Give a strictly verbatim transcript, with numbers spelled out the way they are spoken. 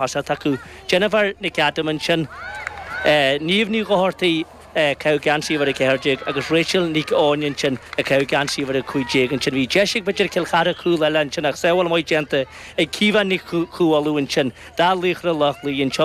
Tosacht acu. Jennifer Nic Adaim ansin, Niamh Ní Dhochartaigh ag caitheamh geansaí uimhir a ceathair déag agus Rachel Nic Eoin ansin ag caitheamh geansaí uimhir a cúig déag ansin. Bhí deis ag b'fhéidir Cill Chartha cúl eile ansin ach sábháil maith déanta ag Caoimhe Nic Chumhaill ansin do Laochra Loch Lao anseo.